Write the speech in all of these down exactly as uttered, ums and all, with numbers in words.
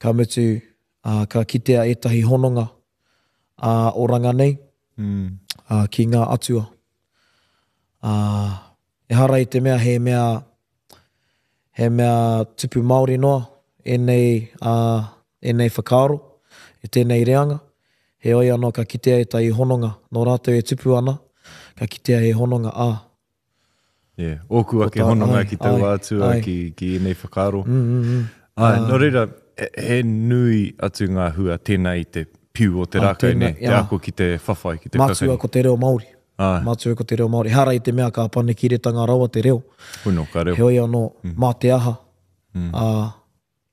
Ka mutu, ā, ka kitea ētahi hononga ā-oranga nei mm. ā, ki ngā atua. Ā, ehara i te mea he mea, he mea tupu Māori noa ēnei, ā, ēnei whakaaro, e tēnei reanga. Heoi anō ka kitea ētahi hononga nō rātou e tupu ana, ka kitea he hononga, ā. Yeah, ōku ake hononga ai, ki taua ai, atua, ai. ki, ki ēnei whakaaro. Mm, mm, mm. Āe, nō reira, he, he nui atu ngā hua tēnā i te piu o te Ā, rākau, tēnā, nē, te jā. ako ki te whawhai, ki te Matua kakari. ko te reo Māori. Āe. Matua ko te reo Māori. Ehara i te mea ka panekiretanga rawa te reo. Hono, ka reo. Heoi anō, Mm. mā te aha, Mm. ā,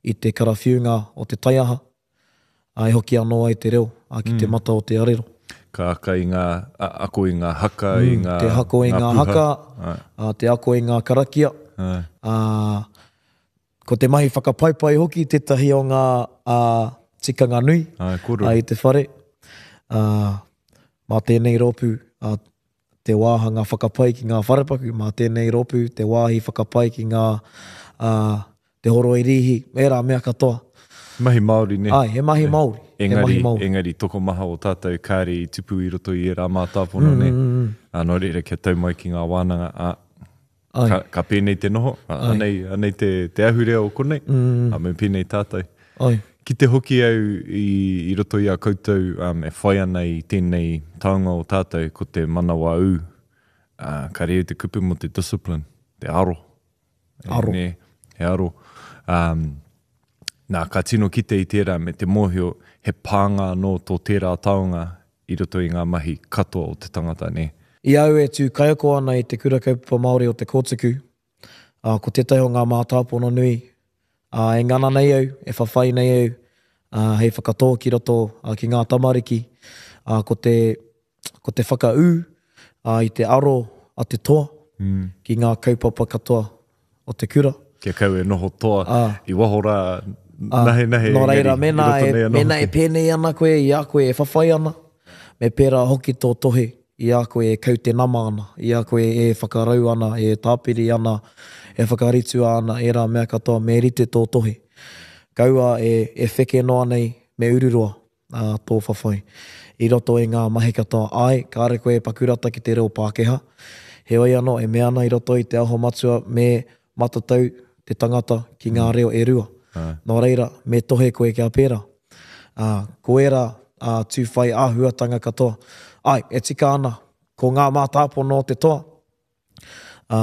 i te karawhiunga o te taiaha, ā, e hoki anō ai te reo, ā, ki te Mm. mata o te arero. Ka aka i ngā, a, ako i ngā haka, i Mm, ngā, te ako i ngā ngā puha. haka, Āe. ā, te ako i ngā karakia, Āe. ā, ko te mahi whakapaipai hoki tētahi o ngā, ā, tikanga nui, Āe, kōrero. ā, i te whare. Ā, mā tēnei rōpū, ā, te wāhanga whakapai ki ngā wharepaku, mā tēnei rōpū, te wāhi whakapai ki ngā, ā, te horoi rīhi, ērā mea katoa. Mahi Māori, nē? Āe, he mahi Māori. He Engari, mahi Māori. engari tokomaha o tātou kāre i tupu i roto i ērā mātāpono, Mm, nē? mm, mm. Ā, nō reira, kia tau mai ki ngā wānanga, ā, Ai. ka, ka pēnei te noho, ā, Ai. anei, anei te, te ahurea o konei, Mm. ā, me pēnei tātou. Ai. Ki te hoki au i, i roto i a koutou um, e whai ana i tēnei taonga o tātou, ko te manawa ū, ā, ka reo te kupu mō te discipline, te aro. E, Aro. nē, he aro. Um, nā, ka tino kite i tērā me te mōhio, he pānga anō tō tērā taonga i roto i ngā mahi katoa o te tangata, nē? I au e tū kaiako ana i te Kura Kaupapa Māori o Te Kōtuku, ā, ko tētahi o ngā mātāpono nui, ā, e ngana nei au, e whawhai nei au, ā, hei whakatō ki roto, ā, ki ngā tamariki, ā, ko te, ko te whakaū, ā, i te aro a te toa Mm. ki ngā kaupapa katoa o te kura. Kia kau e noho toa Ā. i waho rā, Ā, nahe nahe, nō reira, engari, i mēnā roto e, nei anō mēnā e hoki. pēnei ana koe i a koe e whawhai ana, me pērā hoki tō tohe i a koe e kaute nama ana, i a koe e whakarau ana, e tāpiri ana, e whakaritua ana, ērā mea katoa, me rite tō tohe. Kaua e, e wheke noa nei, me ururoa, ā, tō whawhai. I roto i ngā mahi katoa, āe, kāre koe e pakurata ki te reo Pākehā. Heoi anō, e mea ana i roto i te aho matua me matatau te tangata ki ngā reo e rua. Āe. Nō reira, me tohe koe kia pērā. Ā, ko ērā, ā, tūwhai āhuatanga katoa. Āe, e tika ana, ko ngā mātāpono o te toa, ā,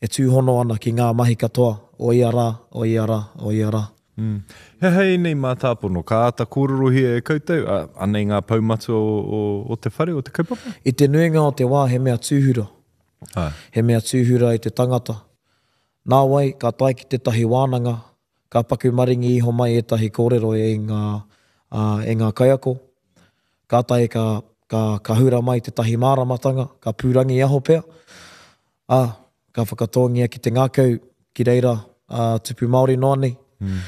e tūhono ana ki ngā mahi katoa o ia rā, o ia rā, o ia rā. Mm. He aha ēnei mātāpono? Ka āta kōrerohia e koutou, ā, anei ngā pou matua o, o, o te whare, o te kaupapa? I te nuinga o te wā he mea tūhura. Āe. He mea tūhura i te tangata. Nāwai, ka tae ki tētahi wānanga, ka paku maringi iho mai ētahi kōrero e ngā, ā, e ngā kaiako. Kātahi ka, ka, ka hura mai tētahi māramatanga, ka pūrangi aho pea. Ā, ka whakatōngia ki te ngākau, ki reira, ā, tupu Māori noa nei. Mm.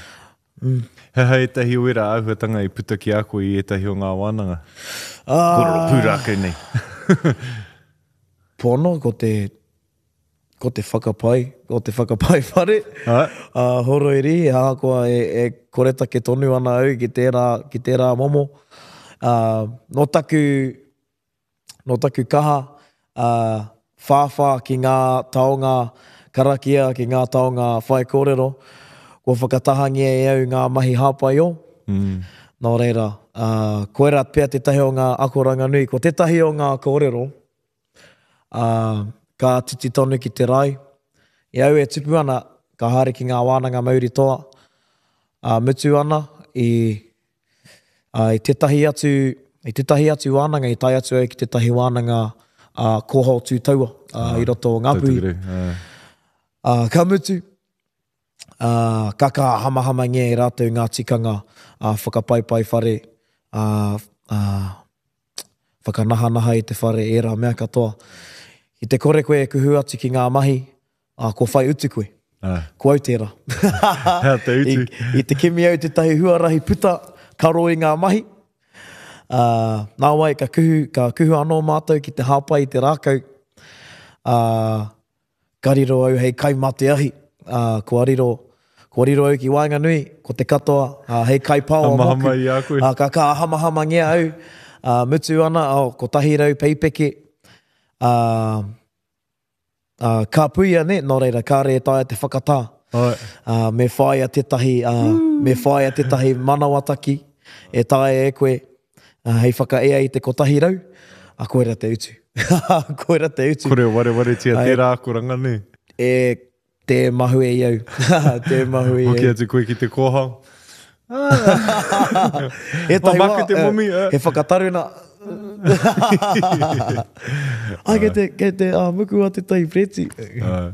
Mm. He aha ētahi o ērā āhuatanga i puta ki a koe i ētahi o ngā wānanga? Ā, Kōrero pūrākau nei. Pono, ko te, ko te whakapai, ko te whakapai whare, Ā. ā, horoi rīhi, ahakoa e, e koretake tonu ana au ki tērā, ki tērā momo. Ā, nō taku, nō taku kaha, ā, whāwhā ki ngā taonga karakia, ki ngā taonga whaikōrero, kua whakatahangia e au ngā mahi hāpai o. Mm. Nō reira, ā, koirā pea tētahi o ngā akoranga nui. Ko tētahi o ngā kōrero, ā, ka titi tonu ki te rae. I au e tupu ana, ka haere ki ngā wānanga mauri toa, ā, mutu ana i, ā, i tētahi atu, i tētahi atu wānanga, i tae atu au ki tētahi wānanga, ā, kōhao tū taua, ā, i roto o Ngāpuhi. Tautukureu, ā. Ā, ka mutu, ā, ka kaha hamahamangia e rātou ngā tikanga, ā, whakapaipai whare, ā, ā, whakanahanaha i te whare, ērā mea katoa. I te kore koe e kuhu atu ki ngā mahi, ā, kua whai utu koe. Ā. Ko au tērā. Hea te utu? I, i te kimi au tētahi huarahi puta, karo i ngā mahi. Ā, nāwai, ka kuhu, ka kuhu anō mātou ki te hāpai i te rākau. Ā, ka riro au hei kai mā te ahi. Ā, kua riro, Kua riro au ki waenganui, ko te katoa, ā, hei kaipaoa mōku. Hamahama i a koe. Ā, ka ka hamahamangia au, ā, mutu ana, oh, kotahi rau peipeke, ā, ā, ka puia, nē, nō reira, kāre e taea te whakatā. Āe. Ā, me whāia tētahi, ā, me whāia tētahi manawataki e taea e koe, ā, hei whakaea i te kotahi rau, ā, koira te utu. Koira te utu. Kore warewaretia tērā akoranga, nē? E, tē mahue i au. Tē mahue i au. Hoki atu koe ki te kōhao. Ētahi wā, wā, te momi, eh, he whakataruna. Ai, kei te, kei te uh, muku a tētahi preti. Uh,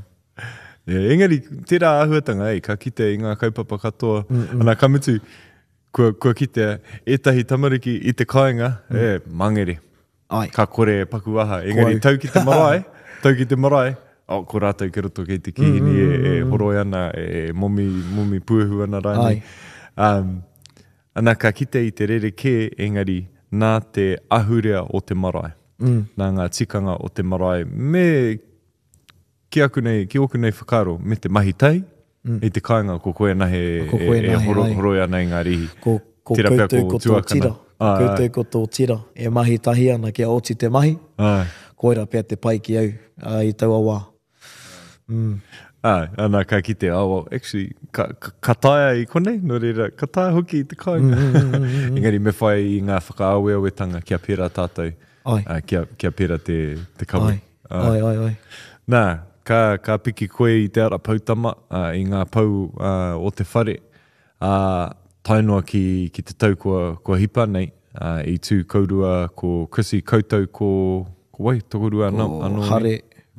yeah, engari, tērā āhuatanga, eh, ka kite i ngā kaupapa katoa. Mm -mm. Ana, ka mutu, kua, kua kitea ētahi tamariki i te kāinga, mm. e, mangere. Ai. Ka kore e paku aha. Engari, tau ki te marae, tau ki te marae, oh, ko rātou ki roto kei te kīhini mm, e, e horoi ana, e momi, momi puehu ana rānei. Um, ana ka kite i te rerekē, engari nā te ahurea o te marae, mm. nā ngā tikanga o te marae, me ki aku nei, ki ōku nei whakaaro, me te mahi tahi, mm. i te kāinga ko koe anahe ko koe e, e anahe, horo, ai. horoi ana i ngā rīhi. Ko, ko Tērā pea koutou ko ko tō tuakana. tira. Ko Ai, ai. koutou ko tō tira. E mahi tahi ana kia oti te mahi. Ai. Koira pea te pai ki au uh, i taua wā. Mm. Ai, ana ka kite, oh, well, actually, ka, ka, ka taea i konei, nō reira, ka taea hoki i te kāinga. Mm, mm, mm, mm, mm. Engari me whai i ngā whakaaweawetanga kia pērā tātou, Ai. uh, kia, kia pērā te, te kawe. Ai, ai, ai, ai. Nā, ka, ka piki koe i te ara poutama, uh, i ngā pou uh, o te whare, uh, tae noa ki, ki te tau kua, kua hipa nei, uh, i tū kourua ko Chrissy, koutou ko, ko wai, tokorua anō, Ko anō nei? Hare,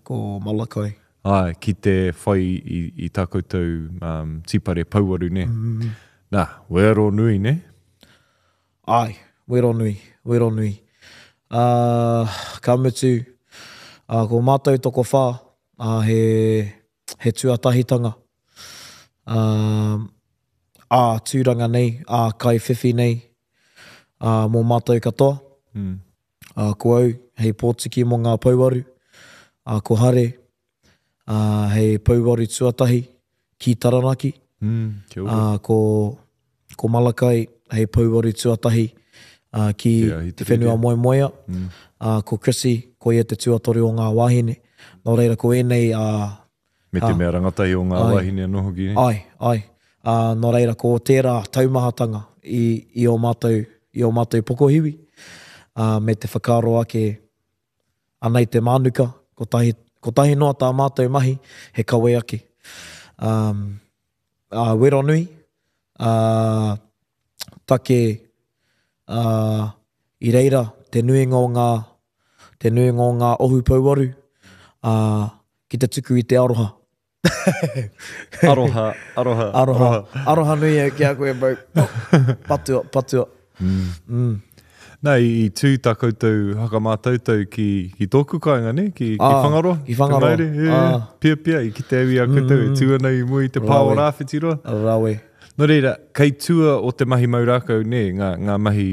ko Malakai. Ai, ki te whai i, i tā koutou um, tīpare pouaru, ne? Mm. Nā, wero nui, ne? Ai, wero nui, wero nui. Uh, ka mutu, uh, ko mātou tokowhā, uh, he, he tuatahitanga. Uh, ā tūranga nei, ā kaiwhiwhi nei, uh, mō mātou katoa. Mm. Uh, ko au, hei pōtiki mō ngā pouaru, uh, ko Hare, uh, hei pouaru tuatahi ki Taranaki. Mm, kia ora. Uh, ko, ko Malakai, hei pouaru tuatahi uh, ki Ki te whenua moemoea. Mm. Uh, ko Chrissy, ko ia te tuatoru o ngā wāhine. Nō reira, ko ēnei... Uh, Me te ah, mea rangatahi o ngā ai, wāhine anō hoki. Ne? Ai, ai. Uh, nō reira, ko tērā taumahatanga i, i o mātou, i o mātou pokohiwi, uh, me te whakaaro ake anei te mānuka, kotahi, kotahi noa tā mātou mahi, he kawe ake. Um, uh, wero nui, uh, take uh, i reira te nuinga o ngā, te nuinga o ngā ohu pouaru, uh, ki te tuku i te aroha. Aroha, aroha, aroha. Aroha nui au ki a koe, bro. Oh, patua, patua. Mm. Mm. Nā, i, i tū tā koutou hakamātautau ki, ki tōku kāinga, ne? Ki, ki Ah, Whangaroa. ki Whangaroa. Te Ngaere, e, Ah. pia pia, i kite au i a koutou Mm, e tū ana i mua i te pā o Rawe. Rāwhitiroa. Rawe. Nō reira, kei tua o te mahi mau rākau, ne? Ngā, ngā mahi,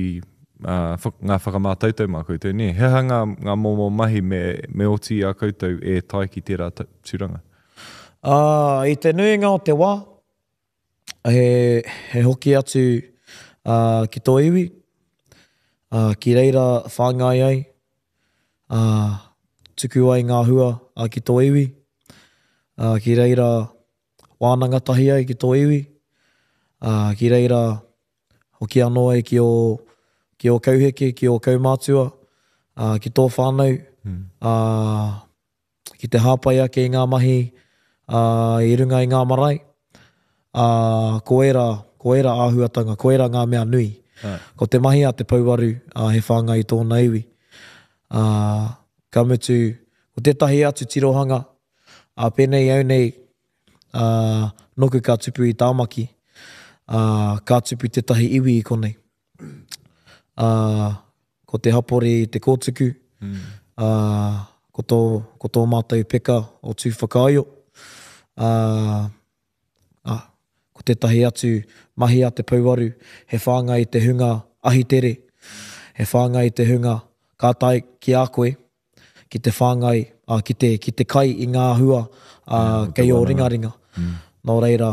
uh, wha, ngā whakamātautau mā koutou, ne? He aha ngā, ngā momo mahi me, me oti i a koutou e tae ki tērā tūranga? Uh, i te nuinga o te wā, he, he hoki atu uh, ki tō iwi, uh, ki reira whāngai ai, uh, tuku ai ngā hua uh, ki tō iwi, uh, ki reira wānanga tahi ai ki tō iwi, uh, ki reira hoki anō ai ki o, ki o kauheke, ki o kaumātua, uh, ki tō whānau, mm. uh, ki te hāpai ake i ngā mahi uh, i runga i ngā marae. Uh, ko era, ko era āhuatanga, ko era ngā mea nui. Ai. Ko te mahi a te pouaru, uh, he whāngai i tōna iwi. Uh, ka mutu, ko tētahi atu tirohanga, uh, pēnei au nei, uh, noku ka tupu i Tāmaki, uh, ka tupu tētahi iwi i konei. Uh, ko te hapori i te kōtuku, mm. uh, ko tō, ko tō mātou peka o Tūwhakaio. Uh, ah, ko tētahi atu mahi a te pouaru, he whāngai i te hunga ahitere, he whāngai i te hunga ka tae ki a koe, ki te whāngai, uh, ki te, ki te kai i ngā hua uh, Yeah, kei o te wānanga. ringaringa. Mm. Nō reira,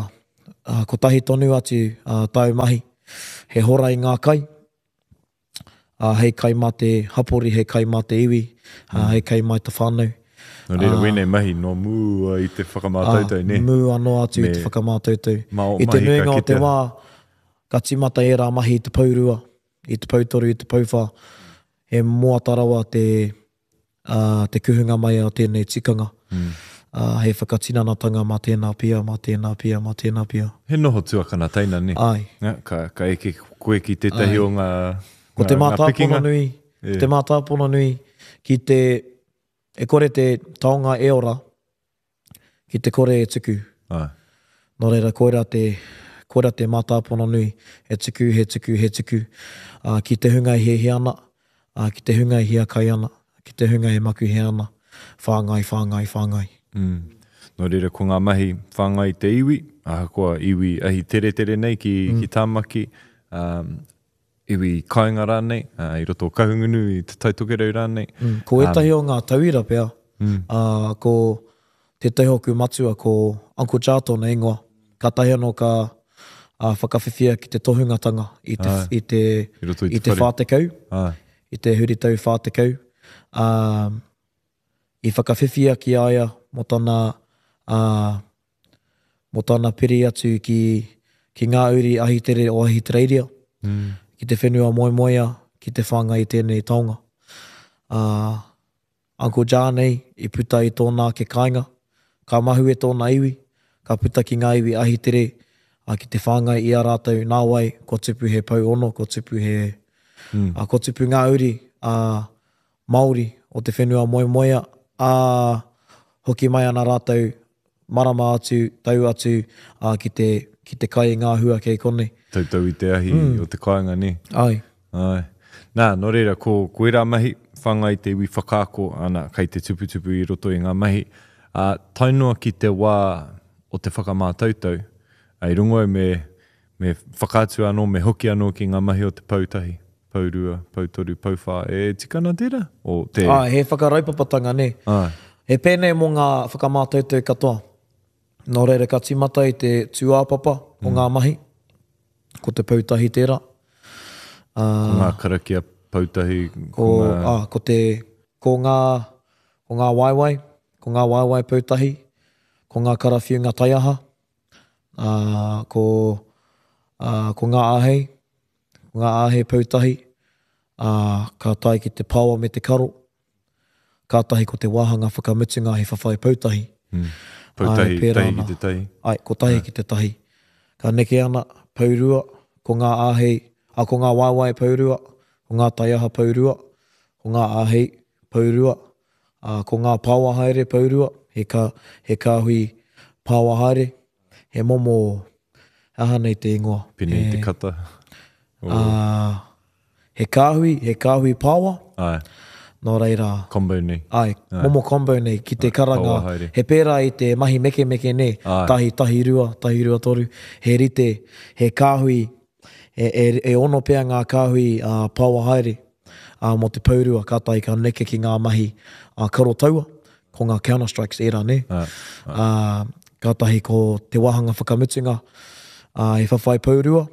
uh, kotahi tonu atu uh, tāu mahi, he hora i ngā kai, uh, hei kai mā te hapori, hei kai mā te iwi, uh, hei kai mā te whānau. Nō reira, wēnei mahi no mua i te whakamātautau, ne? Mua noa atu i te whakamātautau. I te nuinga o te wā, ka tīmata ērā mahi i te pourua, i te poutoru, i te pouwhā, he moata rawa te, uh, te kuhunga mai o tēnei tikanga. Mm. Uh, hei whakatinanatanga mā tēnā pia, mā tēnā pia, mā tēnā pia. He noho tuakana teina, ne? Ai. Ja, ka, ka eke koe ki tētahi o ngā, Ko te ngā, ngā pikinga. mātāpono nui, Yeah. ko te mātāpono nui ki te, e kore te taonga e ora, ki te kore e tuku. Ai. Nō reira, koira te, koira te mātāpono nui, he tuku, he tuku, he tuku. Uh, ki te hunga e hiahia ana, uh, ki te hunga e hiakai ana, ki te hunga e makuhe ana, whāngai, whāngai, whāngai. Mm. Nō reira, ko ngā mahi whāngai te iwi, ahakoa iwi ahi teretere nei ki, mm. ki Tāmaki, um, iwi kāinga rānei, uh, i roto o Kahungunu, i Te Taitokerau rānei. Mm. Ko ētahi o ngā tauira pea, Mm. uh, ko tētahi hoku matua, ko Uncle Ja tōna ingoa, kātahi anō ka uh, whakawhiwhia ki te tohungatanga i te, Ai. i te, I roto i te i te whare. whā tekau, Ai. i te huritau whā tekau. Um, i whakawhiwhia ki a ia mō tana, uh, mō tana piri atu ki, ki ngā uri ahitere o Ahitereiria, Mm. ki te whenua moemoea, ki te whāngai i tēnei taonga. Uh, Uncle Ja nei i puta i tōna ake kāinga, ka mahue tōna iwi, ka puta ki ngā iwi ahitere, uh, ki te whāngai i a rātou nā wai, ko tupu he pau ono, ko tupu he, Mm. uh, ko tupu ngā uri uh, Māori o te whenua moemoea, a hoki mai ana rātou marama atu, tau atu, uh, ki te, ki te kai i ngā hua kei konei. Tautau i te ahi mm. o te kāinga, ne? Ai. Ai. Nā, nō reira, ko, ko ērā mahi, whāngai te iwi whakaako, ana, kei te tuputupu i roto i ngā mahi. Uh, tae noa ki te wā o te whakamātautau, ai rongo au me, me whakaatu anō, me hoki anō ki ngā mahi o te poutahi, pourua, poutoru, pouwhā, e tikana tērā? O te... Ai, he whakaraupapatanga, ne? Ai. He pēnei mō ngā whakamātautau katoa. Nō reira, ka tīmata i te tūāpapa o ngā mahi, ko te poutahi tērā. Ko ngā karakia poutahi, Ko, ko ngā... ah, ko te, ko ngā, ko ngā waewae, ko ngā waewae poutahi, ko ngā karawhiunga taiaha, ah, ko, ah, ko ngā āhei, ko ngā āhei poutahi, ah, ka tae ki te paoa me te karo, kātahi ko te wāhanga whakamutunga he whawhai poutahi. Mm. Poutahi, Ai, pērā tahi ki ana. te tahi. Ai, ko tahi ki te tahi. Ka neke ana, pourua, ko ngā āhei, a ko ngā waewae pourua, ko ngā taiaha pourua, ko ngā āhei pourua, a, ko ngā paoa haere pourua, he, ka, he kāhui paoa haere, he momo, aha nei te ingoa. Pēnei He, te kata. O, ā, he kāhui, he kāhui paoa, ai, nō reira, combo nei. Ai, momo combo nei, ki te karanga, paoa haere. he pērā i te mahi mekemeke nei, Ai. tahi, tahi rua, tahi rua toru, he rite, he kāhui, e, e, e ono pea ngā kāhui uh, paoa haere uh, mō te pourua, kātahi ka neke ki ngā mahi uh, karo taua, ko ngā counter strikes ērā, ne? Ai, Uh, kātahi ko te wāhanga whakamutunga, uh, he whawhai pourua,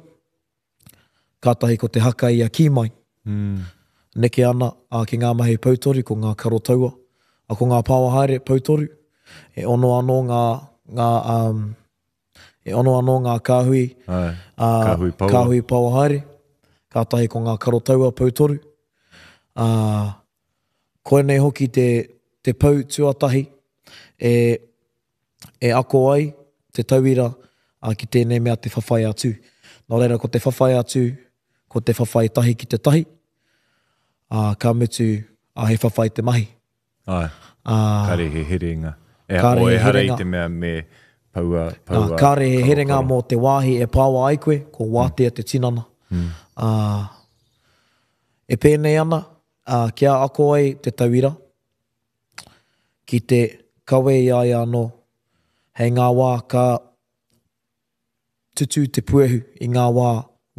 kātahi ko te haka i a ki mai, Mm. neke ana a, ki ngā mahi poutoru, ko ngā karo taua, a, ko ngā paoa haere poutoru, e ono anō ngā, ngā, um, e ono anō ngā kāhui, Ai, ā, kāhui paoa. kāhui paoa haere, kātahi ko ngā karo taua poutoru. Ā, koinei hoki te, te pou tuatahi e, e ako ai te tauira a, ki tēnei mea te whawhai atu. Nō reira, ko te whawhai atu, ko te whawhai tahi ki te tahi, ā, ka mutu, ā, he whawhai te mahi. Ai, Ā, kāre he herenga. E, Kāre o, he ehara i herenga. te mea me paua, ā, paua, kāre he karo, herenga karo. mō te wāhi e pāua ai koe, ko wātea te tinana. Mm. Ā, e pēnei ana, ā, kia ako ai te tauira, ki te kawe i a ia anō, hei ngā wā ka tutū te puehu i ngā wā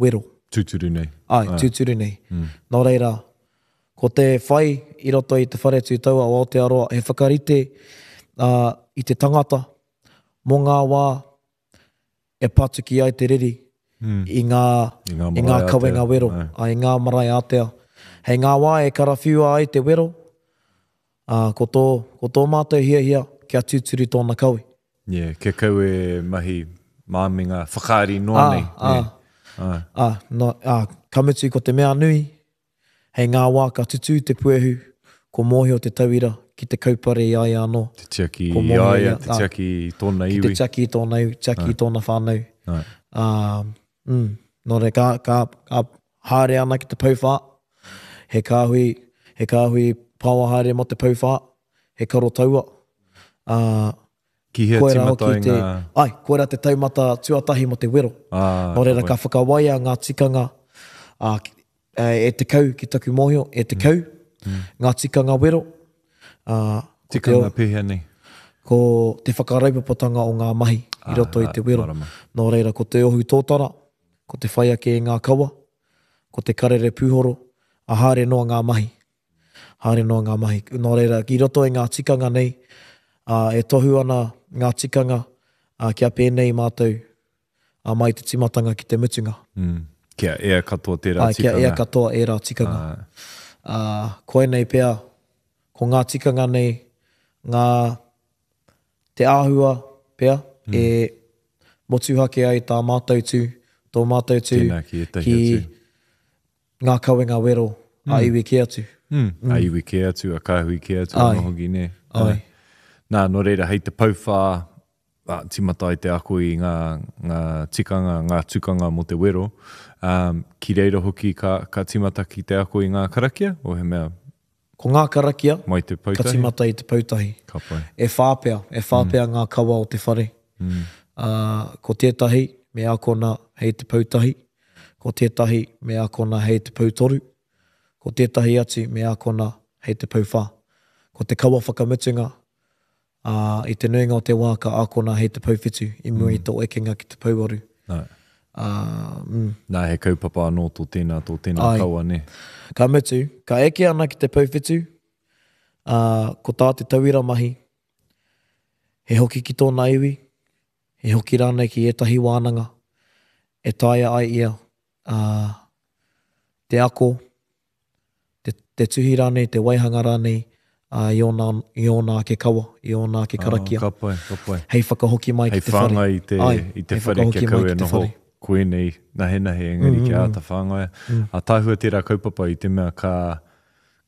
wero. Tūturu nei. Ai, tūturu nei. Mm. Nō reira, ko te whai i roto i te whare tūtaua o Aotearoa, he whakarite uh, i te tangata mō ngā wā e patuki ai te riri mm. i ngā, I ngā, i ngā kawenga wero, Ai. ai, i ngā marae ātea. Hei ngā wā e karawhiua ai te wero, ā, ko tō, ko tō mātou hiahia kia tūturu tōna kawe. Yeah, kia kau e mahi māminga whakaari noa Ā, nei. ā. nē. Ā. Ā, no, ā, ka mutu ko te mea nui, hei ngā wā ka tutū te puehu, ko mōhio te tauira ki te kaupare i a ia anō. Te tiaki Ko i mōhio a ia, ia, te ā. tiaki i tōna Ki te iwi. tiaki i tōna iwi, tiaki i tōna whānau. Ai. Ā, mm, nō reira, ka, ka, ka haere ana ki te pouwhā, he kāhui, he kāhui paoa haere mō te pouwhā, he karo taua. Ā, Ki hea koera tīmata hoki ai te, ngā... ai, koera te taumata tuatahi mō te wero. Ā, Nō reira, ka ka whakawaia ngā tikanga ā, ki- e, e te kau ki taku mōhio, e te kau, ngā tikanga wero. Ā, ko te, Tikanga pēhea nei. ko te whakaraupapatanga o ngā mahi i roto i Ā, te wero. marama. Nō reira, ko te ohu tōtara, ko te whai ake i ngā kawa, ko te karere pūhoro, a haere noa ngā mahi. Haere noa ngā mahi. Nō reira, ki roto i ngā tikanga nei, ā, e tohu ana ngā tikanga ā, kia pēnei mātou ā, mai te timatanga ki te mutunga. Mm. Kia ea katoa tērā Ai, kia tikanga. ea katoa ērā tikanga. Ā, Ā, koinei pea, ko ngā tikanga nei, ngā te āhua pea, mm. e motuhake ai tā mātou tū, tō mātou tū, Tēnā ki ētahi ki atu. ngā kawenga wero mm. a iwi kē atu. Mm. A iwi kē atu, a kāhui kē atu, Ai. anō hoki, nē. Ai. Nā, nō reira, hei te pouwhā, ā, tīmata ai te ako i ngā, ngā tikanga, ngā tukanga mō te wero. Um, ki reira hoki ka, ka tīmata ki te ako i ngā karakia, o he mea Ko ngā karakia, mai te ka poutahi? tīmata i te poutahi. Ka pai. E whā pea, e whā pea ngā kawa o te whare. Mm. Ā, ko tētahi me akona hei te poutahi, ko tētahi me akona hei te poutoru, ko tētahi atu me akona hei te pouwhā. Ko te kawa whakamutunga, ā, i te nuinga o te wā ka akona hei te pouwhitu i mua i tō ekenga ki te pouwaru. Nā, Ā, mm. nā, he kaupapa anō tō tēnā, tō tēnā Ai. kawa, nē. Ka mutu, ka eke ana ki te pouwhitu, ā, ko tā te tauira mahi, he hoki ki tōna iwi, he hoki rānei ki ētahi wānanga, e taea ai ia, ā, te ako, te, te tuhi rānei, te waihanga rānei, ā, i ōna, i ōna ake kawa, i ōna ake karakia, Ah, ka pai, ka pai. hei whakahoki mai Hei ki te whare. whāngai i te, Ai, i te hei whare whakahoki kia mai kau ki e te noho whare. koenei nahenahe, engari kia āta whāngaia. A tāhua tērā kaupapa i te mea ka,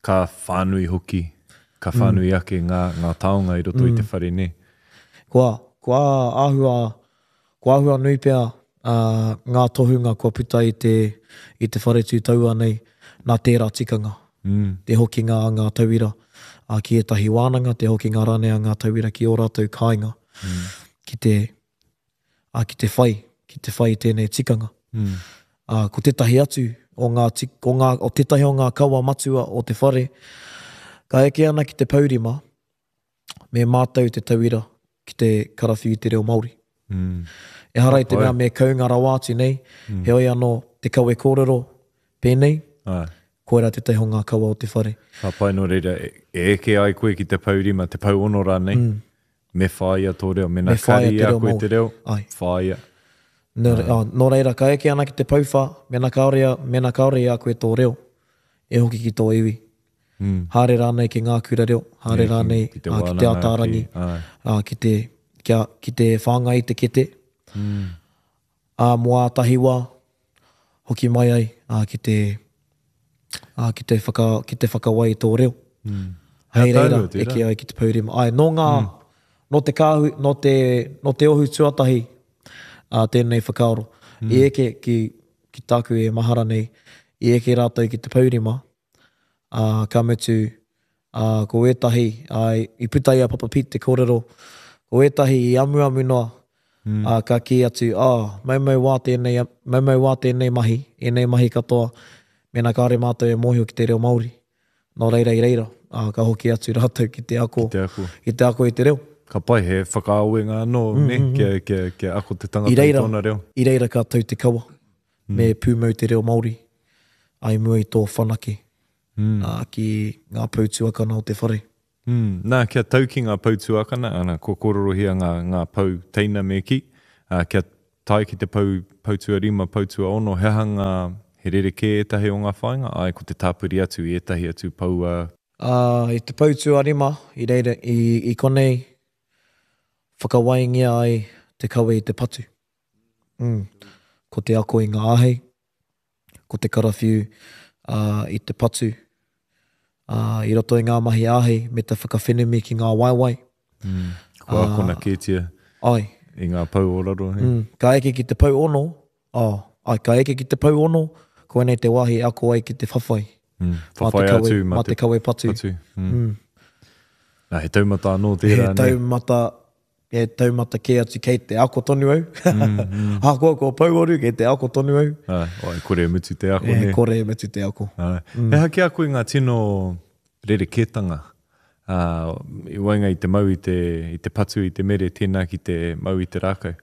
ka whānui hoki, ka whānui ake ngā, ngā taonga i roto i te whare, nē. Kua, kua āhua, kua āhua nui pea ā, ngā tohunga kua puta i te, i te whare tū taua nei, nā tērā tikanga. Mm. Te hokinga a ngā tauira ā, ki ētahi wānanga, te hokinga rānei a ngā tauira ki ō rātou kāinga, Mm. ki te, ā, ki te whai, ki te whai i tēnei tikanga. Mm. Ā, ko tētahi atu o ngā, tik, o ngā, o tētahi o ngā kawa matua o te whare, ka eke ana ki te paurima, me mātou te tauira ki te karawhiu i te reo Māori. Mm. Ehara i te Ka pai. mea me kaunga rawa atu nei, Mm. heoi anō te kawe kōrero pēnei, Ai. koera tētahi o ngā kawa o te whare. Ka pai nō reira, e, e eke ai koe ki te paurima, te pauono rānei, mm. me whāia tō reo, mena Me whāia kari te i a reo koe Māori. te reo, Ai. whāia. Nō, re, oh, nō reira, ka eke ana ki te pouwhā, mena kāore, a- mena kāore i a koe tō reo, e hoki ki tō iwi. Mm. Haere rānei ki ngā kura reo, haere Yeah, ki- rānei ki te ā, ki te wānanga, Ataarangi, ki- ai. ā, ki te, kia, ki te whāngai i te kete, Mm. ā, mō ātahi wā, hoki mai ai, ā, ki te, ā, ki te, whaka, ki te whakawai i tō reo. Mm. Hei He reira, ātaahua tērā. eke ai ki te paurima. Ai, nō ngā, mm. nō te kāhui, nō te, nō te ohu tuatahi ā, tēnei whakaaro. Mm. I eke ki, ki tāku e mahara nei, i eke rātou ki te paurima, ā, ka mutu, ā, ko ētahi, ā, i puta i a Papa Pete te kōrero, ko ētahi i amuamu noa, mm. ā, ka kī atu, ā, maumau wā tēnei, maumau wā tēnei mahi, ēnei mahi katoa, mēnā kāore mātou e mōhio ki te reo Māori. Nō reira i reira, ā, ka hoki atu rātou ki te ako, Ki te ako. ki te ako i te reo. Ka pai, he whakaawenga anō, mm, ne? Kia, kia, kia ako te tangata I i, reira, tōna reo. i reira ka tau te kawa, mm. me pūmau te reo Māori, ai mua i tō whanake, Mm. ā, ki ngā pou tuakana o te whare. Mm. Nā, kia tau ki ngā pou tuakana, ana, kua kōrorohia ngā, ngā pou teina me ki, ā, kia tae ki te pou, pou tuarima, pou tuaono, he aha ngā, he rerekē ētahi o ngā whāinga? Āe, ko te tāpiri atu i ētahi atu poua. Ā, i te pou tuarima, i reira, i, i konei whakawaingia ai te kawe i te patu. Mm. Ko te ako i ngā āhei, ko te karawhiu ā, i te patu, ā, i roto i ngā mahi āhei me te whakawhenumi ki ngā waewae. Mm. Kua akona kētia Ai. i ngā pou o raro. He? Mm. Ka eke ki te pou ono, oh, ai, ka eke ki te pou ono, koinei te wāhi e ako ai ki te whawhai. Mm. Mā te Whawhai kawe, atu mā te kawe patu. patu. Mm. Mm. Nā, he taumata anō tērā. He nē? taumata, he taumata kē atu kei te ako tonu au. Mm, mm. Ahakoa kua pouaru, kei te ako tonu au. Ai, oi, kore e mutu te ako, E nē? kore e mutu te ako. Ai. He aha ki a koe ngā tino rerekētanga ā, i waenga i te mau i te, i te patu i te mere, tēnā ki te mau i te rākau?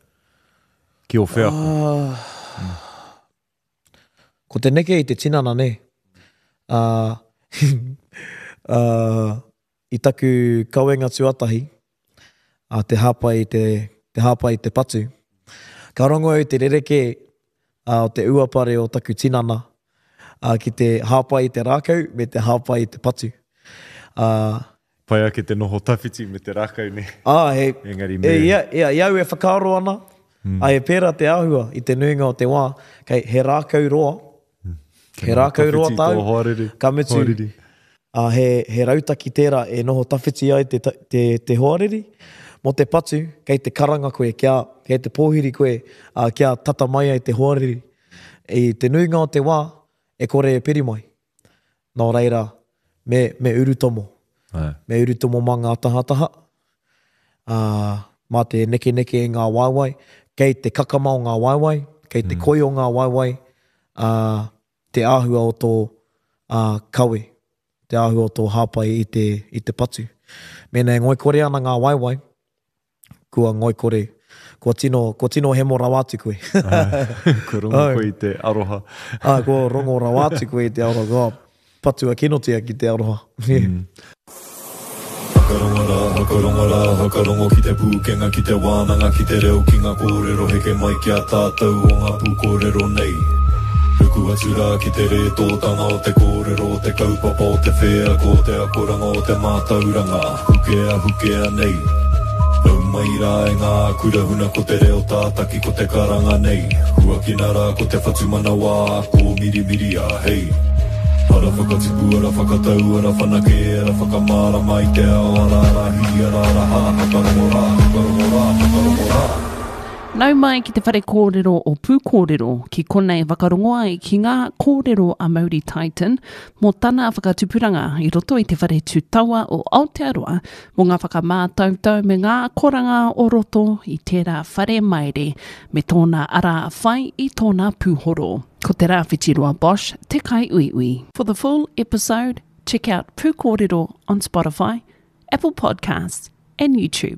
Ki ō wheako? Ah. Ko te neke i te tinana, nē. Ā, ā, i taku kawenga tuatahi, ā, te hāpai i te, te hāpai i te patu, ka rongo au i te rerekē, ā, o te uapare o taku tinana, ā, ki te hāpai i te rākau me te hāpai i te patu. Ā, Pai ake te noho tawhiti me te rākau, nē? Ā, he, Engari me. e, ia, ia, i au e whakaaro ana, mm. ā, e pērā te āhua i te nuinga o te wā, kei, he rākau roa, mm. he rākau roa tāu, hoariri, ka mutu, hoariri. ā, he, he rautaki tērā e noho tawhiti ai te, te, te hoariri, mō te patu, kei te karanga koe, kia, kei te pōhiri koe, ā, kia tata mai ai te hoariri. I te nuinga o te wā, e kore e piri mai. Nō reira, me, me urutomo. Ai. Me urutomo mā ngā tahataha, ā, mā te nekeneke i ngā waewae, kei te kakama o ngā waewae, kei te koi o ngā waewae, ā, te āhua o tō ā, kawe, te āhua o tō hāpai i te, i te patu. Mēnā e ngoikore ana ngā waewae, kua ngoikore, kua tino, kua tino hemo rawa atu koe. Kua rongo koe i te aroha. Ā, kua rongo rawa atu koe i te aroha, kua patua kinotia ki te aroha. Mm. Whakarongo rā, whakarongo rā, whakarongo ki te pūkenga, ki te wānanga, ki te reo, ki ngā kōrero heke mai ki a tātou o ngā pūkōrero nei. Ruku atu rā ki te rētōtanga o te kōrero, o te kaupapa, o te wheako, o te akoranga, o te mātauranga, hukea, hukea nei. Nau mai rā e ngā kura huna ko te reo tātaki ko te karanga nei. Huakina rā ko te whatumanawa, kōmirimiria, hei. Ara whakatipu, ara whakatau, ara whanake, ara whakamārama i te ao, ara ara hī, ara ara hā, whakarongo rā, whakarongo rā, whakarongo rā. Nau mai ki te whare kōrero o Pūkōrero, ki konei whakarongo ai ki ngā kōrero a Mauri Titan mō tana whakatupuranga i roto i te whare tūtawa o Aotearoa mō ngā whakamātautau me ngā akoranga o roto i tērā whare maere me tōna ara whai i tōna pūhoro. Ko Te Rāwhitiroa Bosch te kaiuiui. For the full episode, check out Pūkōrero on Spotify, Apple Podcasts and YouTube.